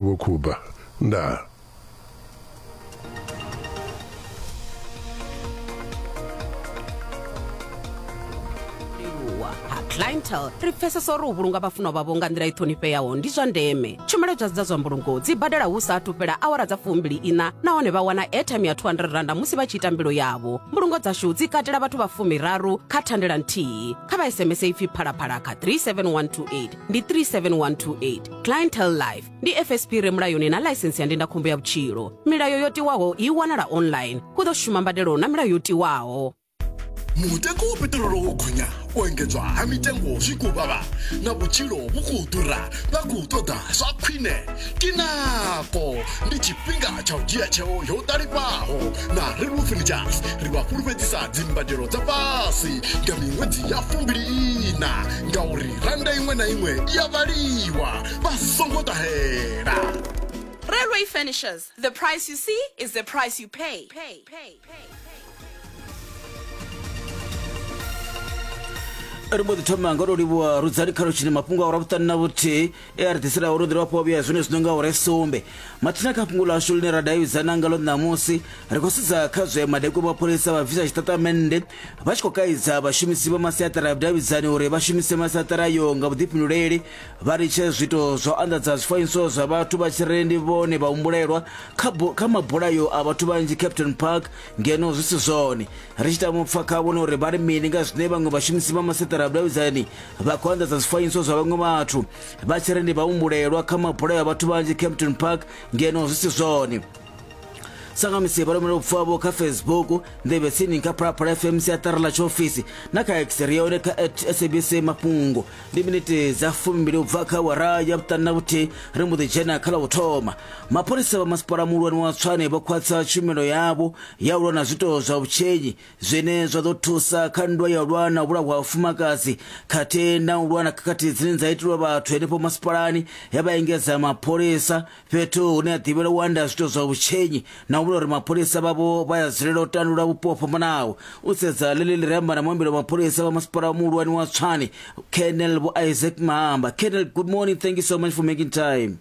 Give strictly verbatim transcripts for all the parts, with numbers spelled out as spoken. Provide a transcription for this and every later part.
Vho Khuba. Ndaa. Livhuwa ha Clientele ri pfesesa uri u vhulunga vhafunwa vhavho nga nḓila i ṱhonifheaho ndi zwa ndeme. Tshumelo dza dza zwa mbulungo dzi badela hu sa athu fhela awara dza fumbili ina nahone vha wana airtime ya two hundred randa musi vha tshi ita mbilo yavho. Mbulungo dzashu dzi katela vhathu vha fumiraru kha thandela nthihi. Kha vha S M S ipfi phalaphala kha three seven one two eight ndi three seven one two eight. Clientele Life ndi F S P re mulayoni na ḽaisensi ya ndindakhombo ya vhutshilo. Milayo yo tiwaho i wanala online. Hu ḓo shuma mbadelo na milayo yo tiwaho. Mutengo wa peṱirolo wo gonya, u engedzwa ha mitengo zwi khou vhavha, na vhutshilo vhu khou ḓura, vha khou ṱoḓa zwa khwine. Ke nako, ndi tshifhinga tsha u dzhia tsheo yo ṱalifhaho na Railway Furnitures. Ri vha fhulufhedzisa dzimbadelo dza fhasi nga miṅwedzi ya fumbili ina, ngauri randa iṅwe na iṅwe i a vhaliwa, vha songo ṱahela. Railway Furnitures, the price you see is the price you pay. Pay, pay, pay. Ri mbo ḓi thoma nga u tou livhuwa Rudzani kha lutshini mafhungo a ura vhuṱanu na vhuthihi e a ri ḓisela uri ḓiri wafhiwa vhuya zwine zwino nga ure sumbe. Mathina kha fhungo ḽashu ḽine ra davhidzana ngalo ṋamusi ri khou sedza kha zwe madekwe mapholisa vha bvisa tshitatamennde vha tshi khou kaidza vhashumisi vha masiaṱara ya vhudavhidzani uri vha shumise masiaṱara ayo nga vhuḓifhinduleli, vha litshe zwiito zwa u anḓadza zwifanyiso zwa vhathu vha tshi ri ndi vhone vhahumbulelwa kha, kha mabulayo a vhathu vhanzhi Captain Park ngeno zwi si zwone. Ri tshi tama u pfa kha vhone uri vha ri mini nga zwine vhaṅwe vhashumisi vha masiaṱara ya vhudavhidzani vha khou anḓadza zwifanyiso zwa vhaṅwe vhathu vha tshi ri ndi vhahumbulelwa kha mabulayo a vhathu vhanzhi Campton Park ngeno zwi si zwone. Sangamisi vha rumela vhupfi havho kha Facebook, nḓevhe tsini kha Phalaphala F M siaṱari ḽa tshiofisi na kha X ri yone kha at S A B C mafhungo. Ndi miniti dza fumbili u bva kha awara ya vhuṱanu na vhuthihi ri mbo ḓi dzhena kha ḽa u thoma. Mapholisa vha masipala muhulwane wa Tshwane vho khwaṱhisa tshumelo yavho ya u lwa na zwiito zwa vhutshenyi zwine zwa ḓo thusa kha nndwa ya u lwa na u vhulahwa ha vhafumakadzi khathihi na u lwa na khakhathi dzine dza itelwa vhathu henefho masipalani. Ya vha engedza mapholisa fhethu hune ha ḓivhelwa u anda zwiito zwa vhutshenyi na u vhona uri mapholisa vhavho vha ya dzulela u tandulula vhupo ho fhambanaho. U sedza ḽeḽi ḽi re amba na muambeli wa mapholisa vha masipala muhulwane wa Tshwane, Colonel Vho Isaac Mahamba. Colonel, good morning. Thank you so much for making time.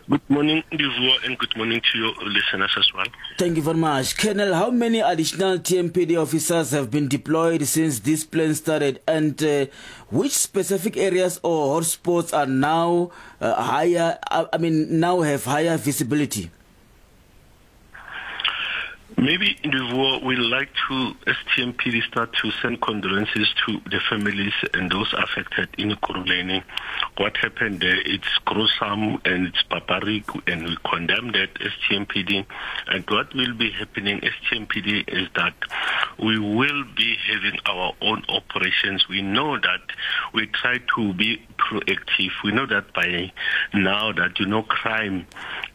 Good morning, Ndivhuwo, and good morning to your listeners as well. Thank you very much. Colonel, how many additional T M P D officers have been deployed since this plan started, and uh, which specific areas or hotspots are now uh, higher, I mean, now have higher visibility? Maybe, Ndivhuwo, we'd like to, as T M P D, start to send condolences to the families and those affected in Ekurhuleni. What happened there, it's gruesome and it's barbaric, and we condemn that as T M P D. And what will be happening as T M P D is that we will be having our own operations. We know that we try to be proactive. We know that by now that, you know, crime,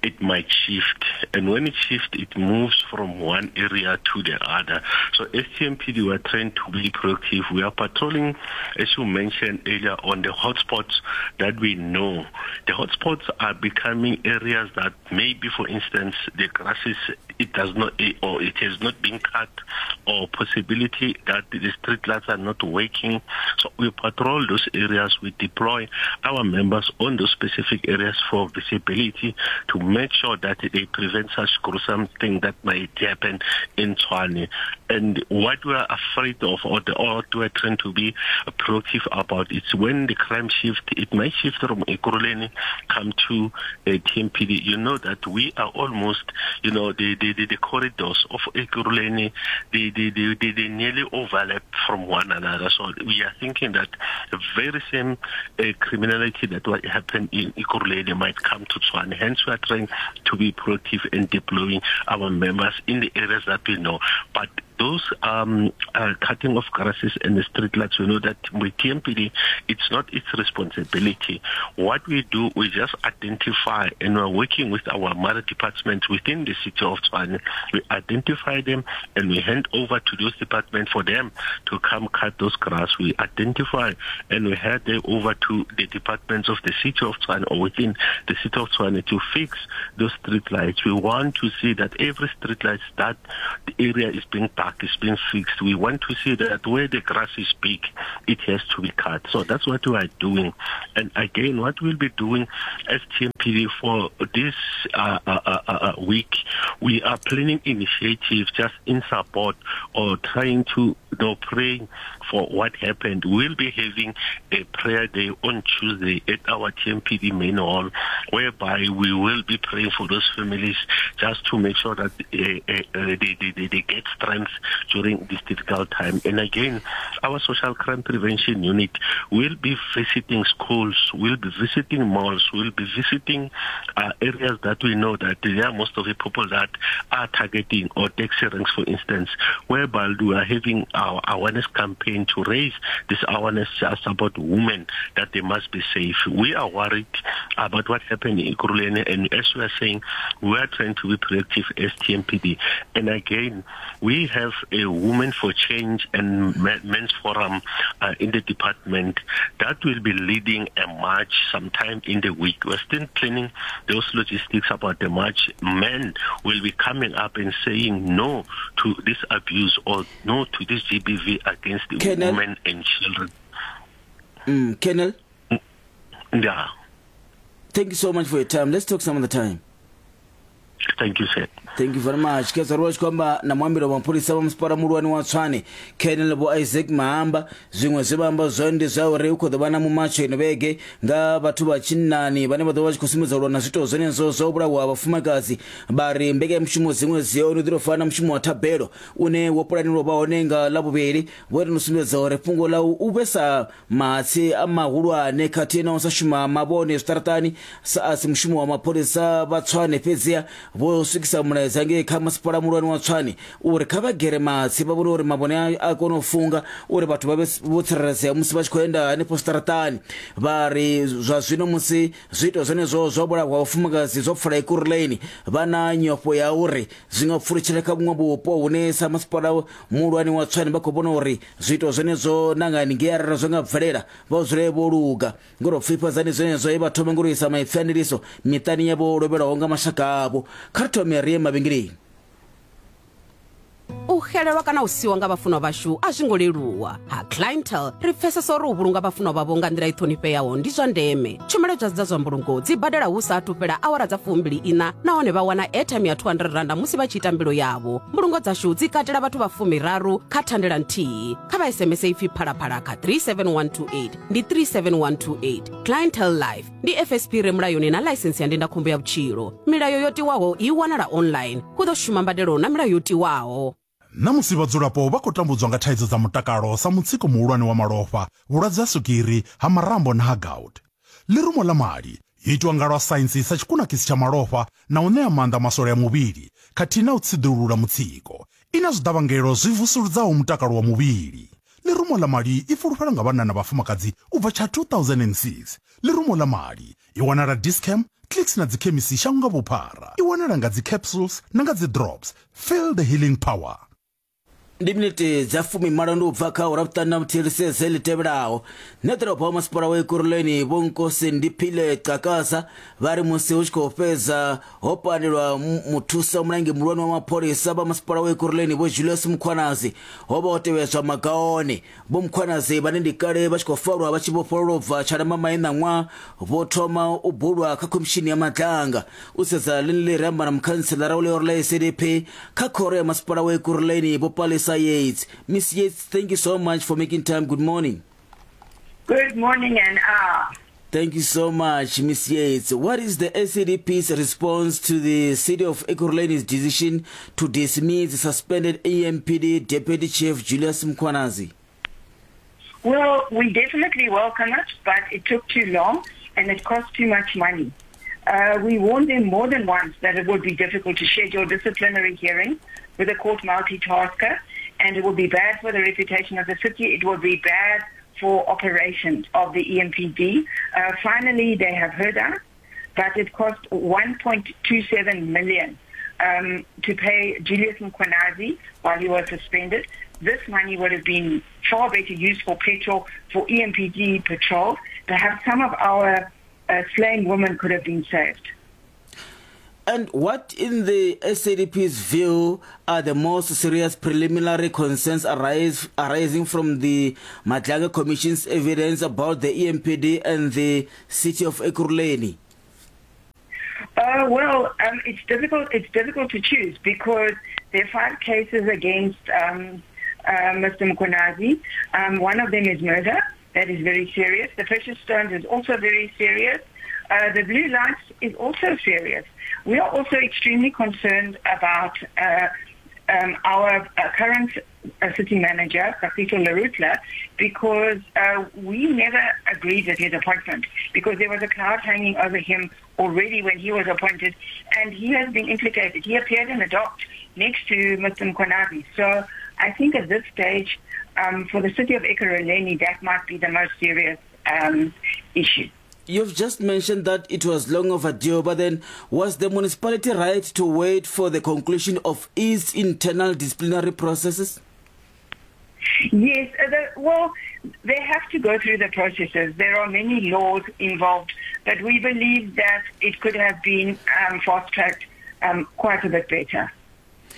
it might shift. And when it shifts, it moves from one area to the other. So S T M P D, we are trying to be proactive. We are patrolling, as you mentioned earlier, on the hotspots that we know. The hotspots are becoming areas that maybe, for instance, the grasses, it does not, or it has not been cut, or possibility that the street lights are not working. So we patrol those areas. We deploy our members on those specific areas for visibility to make sure that they prevent such gruesome thing that might happen in Tshwane. And what we are afraid of, or the or what we are trying to be proactive about, is when the crime shift, it might shift from Ekurhuleni come to uh, T M P D. You know that we are almost, you know, the, the, the, the corridors of Ekurhuleni, they, they, they, they, they nearly overlap from one another. So we are thinking that the very same uh, criminality that what happened in Ekurhuleni might come to Tshwane. Hence, we are trying to be proactive in deploying our members in the areas that we know. But those um, uh, cutting of grasses and the street lights, we know that with T M P D, it's not its responsibility. What we do, we just identify, and we're working with our mother departments within the city of Tshwane. We identify them and we hand over to those departments for them to come cut those grass. We identify and we hand them over to the departments of the city of Tshwane or within the city of Tshwane to fix those street lights. We want to see that every street light that the area is being dark. park is being fixed. We want to see that where the grass is big, it has to be cut. So that's what we are doing. And again, what we'll be doing as T M P D for this uh, uh, uh, uh, week, we are planning initiatives just in support or trying to, you know, pray for what happened. We'll be having a prayer day on Tuesday at our T M P D main hall, whereby we will be praying for those families just to make sure that uh, uh, they, they, they get strength during this difficult time. And again, our social crime prevention unit will be visiting schools, will be visiting malls, will be visiting uh, areas that we know that there are most of the people that are targeting, or taxi ranks, for instance, whereby we are having our awareness campaign to raise this awareness just about women, that they must be safe. We are worried about what happened in Ekurhuleni, and as we are saying, we are trying to be proactive as T M P D. And again, we have a Women for Change and Men's Forum uh, in the department that will be leading a march sometime in the week. We're still planning those logistics about the march. Men will be coming up and saying no to this abuse or no to this G B V against the Colonel, women and children. Mm, Colonel? Yeah. Thank you so much for your time. Let's talk some other time. Thank you, sir. Thank you very much. Keza ro kwamba na muambiro wa mapholisa wa masipala muhulwane wa Tshwane Colonel Bo Isaac Mahamba zwiṅwe zwe vha amba zwone ndi zwa uri hu khou ḓo vha na mumatsho ino vhege nga vhathu vha tshinnani vhane vha ḓo vha tshi khou sumbedza u lwa na zwiito zwenezwo zwa u vhulawa ha vhafumakadzi. Vha ri mbekanyamushumo dziṅwe dzi hone ḓo fana na mushumo wa thabelo une wo pulanelwa vha hone nga Ḽavhuvhili, vho ri no sumbedza uri fhungo ḽa u vhesa mahatsi a mahulwane khathihi na u sa shuma mavhone zwiṱaraṱani sa asi mushumo wa mapholisa vha Tshwane fhedziha vho swikisa mulaedza ngei kha masipala muhulwane wa Tshwane uri kha vha gere mahatsi vha vhone uri mavhone a kone u funga uri vhathu vha vhe vho tsireledzea musi vha tshi khou enda hanefho zwiṱaraṱani. Vha ri zwa zwino musi zwiito zwenezwo zwa vhulahwa vhafumakadzi zwo pfala Ekurhuleni vha na nyofho ya uri zwi nga pfulutshela kha vhuṅwe vhupo hune sa masipala muhulwane wa Tshwane vha khou vhona uri zwiito zwenezwo na nga haningei arali zwo nga bvelela vha dzule vho luga. Ngori pfifhadzani zwenezwo e vha thoma ngori isa maipfi a ndiliso miṱani yavho lovhelwaho nga mashaka avho. Kha ri thome ri ye mavhengeleni. U xelelwa kana u siwa nga vhafunwa vhashu a zwi ngo leluwa. Ha Clientele ri pfesesa uri u vhulunga vhafunwa vhavho nga nḓila i ṱhonifheaho ndi zwa ndeme. Tshumelo dza zwa mbulungo dzi badela hu sa athu fhela awara dza fumbili ina nahone vha wana airtime ya two hundred rand musi vha tshi ita mbilo yavho. Mbulungo dzashu dzi katela vhathu vha fumiraru kha thandela nthihi. Kha vha S M S ipfi phalaphala kha three seven one two eight ndi three seven one two eight. Clientele Life ndi F S P re mulayoni na ḽaisensi ya ndindakhombo ya vhutshilo. Milayo yo tiwaho i wanala online. Hu ḓo shuma mbadelo na milayo yo tiwaho. Namusi vhadzulapo vha khou tambudzwa nga thaidzo dza mutakalo sa mutsiko muhulwane wa malofha, vhulwadze ha swigiri, ha marambo na ha gout. Ḽirumo ḽa mali yo itwa nga lwa saintsi sa tshikunakisi tsha malofha na u ṋea maanḓa maswole a muvhili khathihi na u tsiḓulula mutsiko. I na zwiḓavhangelo zwi vusuludzaho mutakalo wa muvhili. Ḽirumo ḽa mali i fulufhelwa nga vhanna na vhafumakadzi u bva tsha two thousand and six. Ḽirumo ḽa mali i wanala Dischem, Clicks na dzikhemisi shango nga vhuphara. I wanala nga dzi capsules na nga dzi drops. Feel the healing power. Ndi minete dza fumi malo ndi u bva kha ura vhuṱanu na vhuthihi ri ḽi tevhelaho. Nṋe ḓorobo wa masipala wa Ekurhuleni Vho Nkosi Ndiphile Xhakaza vha ri musi hu tshi khou fhedza ho panelwa muthusa mulangi muhulwane wa mapholisa vha masipala wa Ekurhuleni Vho Julius Mkhwanazi ho vha ho tevhedzwa maga one. Vho Mkhwanazi vhane ndi kale vha tshi khou farwa vha tshi vhofhololwa ubva Tshalamamai ṋaṅwaha vho thoma u bulwa kha khomishini ya Madlanga. U sedza ḽeneḽi ri amba na mukhantselara wa ḽihoro ḽa S D P kha khoro ya masipala wa Ekurhuleni Vho Palesa Yates. Miss Yates, thank you so much for making time. Good morning. Good morning, and ah. Thank you so much, Miss Yates. What is the S D P's response to the City of Ekurhuleni's decision to dismiss the suspended A M P D Deputy Chief Julius Mkhwanazi? Well, we definitely welcome it, but it took too long and it cost too much money. Uh, we warned them more than once that it would be difficult to schedule disciplinary hearings with a court multitasker, and it will be bad for the reputation of the city. It will be bad for operations of the E M P D. Uh, finally, they have heard us, but it cost one point two seven million um, to pay Julius Mkhwanazi while he was suspended. This money would have been far better used for petrol, for E M P D patrols. Perhaps some of our uh, slain women could have been saved. And what, in the S A D P's view, are the most serious preliminary concerns arise, arising from the Madlanga Commission's evidence about the E M P D and the city of Ekurhuleni? Uh, well, um, it's difficult. It's difficult to choose because there are five cases against um, uh, Mister Mkhwanazi. Um, one of them is murder. That is very serious. The precious stones is also very serious. Uh, the blue lights is also serious. We are also extremely concerned about uh, um, our uh, current uh, city manager, Kagiso Lerutla, because uh, we never agreed with his appointment, because there was a cloud hanging over him already when he was appointed, and he has been implicated. He appeared in the dock next to Mister Mkhwanazi. So I think at this stage, um, for the city of Ekurhuleni, that might be the most serious um, issue. You've just mentioned that it was long overdue, but then was the municipality right to wait for the conclusion of its internal disciplinary processes? Yes, uh, the, well, they have to go through the processes. There are many laws involved, but we believe that it could have been um, fast-tracked um, quite a bit better.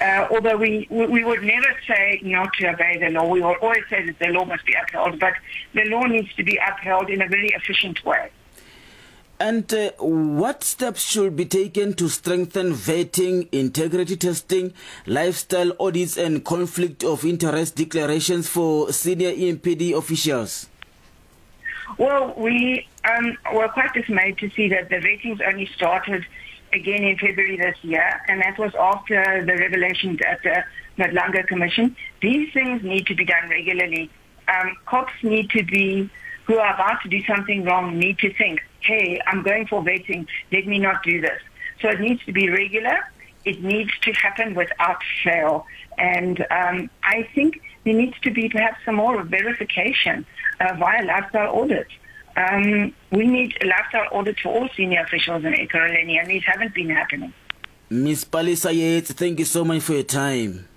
Uh, although we, we would never say not to obey the law. We will always say that the law must be upheld, but the law needs to be upheld in a very efficient way. And uh, what steps should be taken to strengthen vetting, integrity testing, lifestyle audits and conflict of interest declarations for senior E M P D officials? Well, we um, were quite dismayed to see that the vettings only started again in February this year, and that was after the revelations at the Madlanga Commission. These things need to be done regularly. Um, cops need to be, who are about to do something wrong, need to think, hey, I'm going for vetting, let me not do this. So it needs to be regular. It needs to happen without fail. And um, I think there needs to be perhaps some more verification uh, via lifestyle audits. Um, we need a lifestyle audit for all senior officials in Ekurhuleni, and these haven't been happening. Miz Palesa Yates, thank you so much for your time.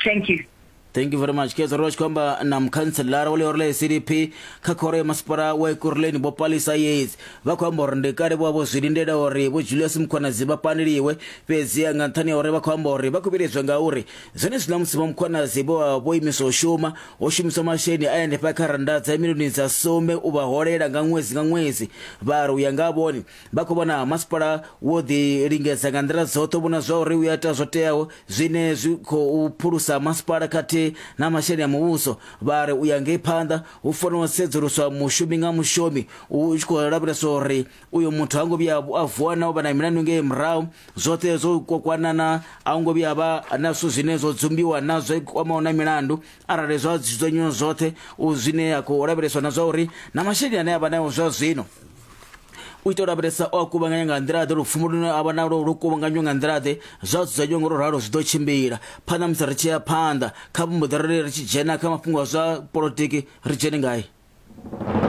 Thank you. Thank you very much. Ke tsoro tshikwamba na mukhanselara wa ḽihoro ḽa S D P kha khoro ya masipala wa Ekurhuleni Vho Palesa Yates vha khou amba uri ndi kale vho vha vho zwi lindela uri Vho Julius Mkhwanazi vha paneliwe, fhedzi nga nṱhani ha uri vha khou amba uri vha khou vhiledzwa ngauri zwenezwiḽa musi Vho Mkhwanazi vho vha vho imiswa u shuma ho shumiswa masheleni a hanefha kha rannda dza milioni dza sumbe u vha holela nga ṅwedzi nga ṅwedzi. Vha ri u ya nga vhone vha khou vhona masipala wo ḓi lingedza nga nḓila dzoṱhe u vhona zwa uri u ya ita zwo teaho zwine zwi khou phulusa masipala khathihi na masheleni a muvhuso. Vha ri u ya ngei phanḓa hu fanela u sedzuluswa mushumi nga mushumi u tshi khou lavheleswa uri uyo muthu ha ngo vhuya a vuwa na u vha na milandu ngei murahu, zwoṱhe zwo kwakwanana a ngo vhuya vha na zwithu zwine zwo dzumbiwa na zwo kwamaho na milandu. Arali zwa dzudzanyiwa zwoṱhe u zwine ya khou lavheleswa na zwa uri na masheleni ane a vha nayo zwa zwino u itela u lavhelesa o a kuvhanganya nga nḓila ḓe, lupfumo lune a vha nalwo lu kuvhanganywa nga nḓila ḓe, zwa dzudzanyiwa ngo ralo zwi ḓo tshimbila. Phanḓa musi ri tshi ya phanḓa kha mbuḓo ri tshi dzhena kha mafhungo a zwa polotiki ri dzhene ngai.